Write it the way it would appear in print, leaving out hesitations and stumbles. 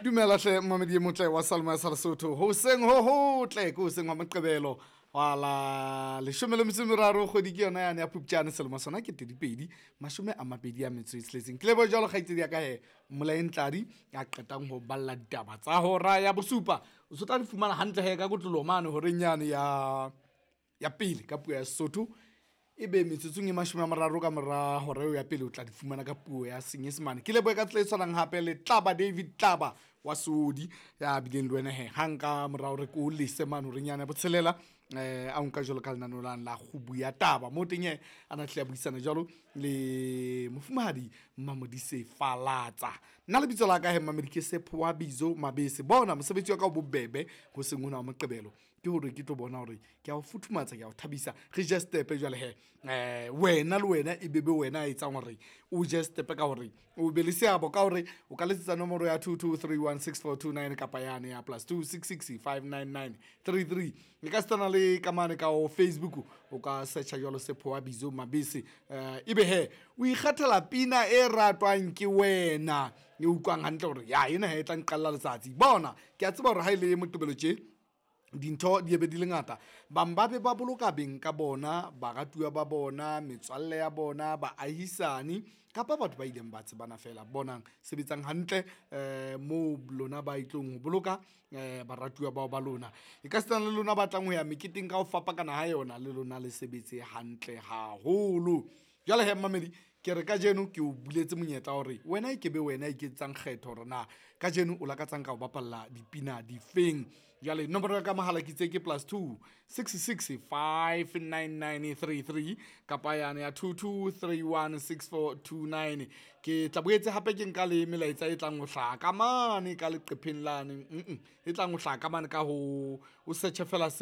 Dumela hle mmamedi e motle wa Salma sa Lesotho. Hoseng ho hotle ke hoseng wa Moqebelo wa la 13 kgwedi ke yona yane ya Phupjane selemo sona ke 2026. Ke leboha jwalo kgaitsedi ya ka he Mmolaeng Tladi ya qetang ho balla ditaba tsa hora ya bosupa. O so tla di fumana hantle he ka kotloloho mane horeng yane ya ya pele ka puo ya Sesotho. Ebe metsotsong e 30 ka mora hora eo ya pele o tla di fumana ka puo ya Senyesemane. Ke lebohe ka tsela e tshwanang hape le Tlaba David Tlaba wa Seodi ya bileng le wena he hang ka mora hore ke o lese mane horeng yane ya botshelela, a nka jwalo ka lenaneo lane la kgubu ya taba. Moo teng he a na hlile a buisana jwalo le mofumahadi Mmamodise Falatsa. Nna lebitso la ka he mmamedi ke Sephowa Bizo Mabese. Bona mosebetsi wa ka o bobebe hoseng hona wa Moqebelo ke hore ke tlo bona hore ke a o futhumatsa, ke a o thabisa. Re je stepe jwale he, wena le wena e be be wena a etsang hore o je stepe ka hore o be le seabo ka hore o ka letsetsa nomoro ya 22316429 kapa yane ya +266 599 33. E ka sitana le ka mane ka o Facebook o ka searcha jwalo Sephowa Bizo Mabese, ebe he o ikgethela pina e ratwang ke wena e utlwang hantle hore ya ena he e tla nqalla letsatsi. Bona ke a tseba hore ha e le Moqebelo tje dintho di ebe di le ngata, bang ba be ba boloka beng ka bona, baratuwa ba bona, metswalle ya bona, baahisani kapa batho ba ileng ba tsebana feela. Bonang sebetsang hantle moo lona ba tlong ho boloka baratuwa bao ba lona. E ka sitana le lona ba tlang ho ya meketeng ka ho fapakana ha yona, le lona le sebetse hantle haholo. Jwale he mmamedi ke re kajeno ke o buletse monyetla wa hore wena e ke be wena a iketsetsang kgetho hore na kajeno o lakatsang ka ho bapalla dipina difeng. Jwale nomoro ya ka mohala ke itse ke +2 66 599 33 kapa yane ya 22316429. Ke tla boetse hape ke nka le melaetsa e tlang ho hlaha ka mane ka leqepheng lane, e tlang ho hlaha ka mane ka ho o search fela.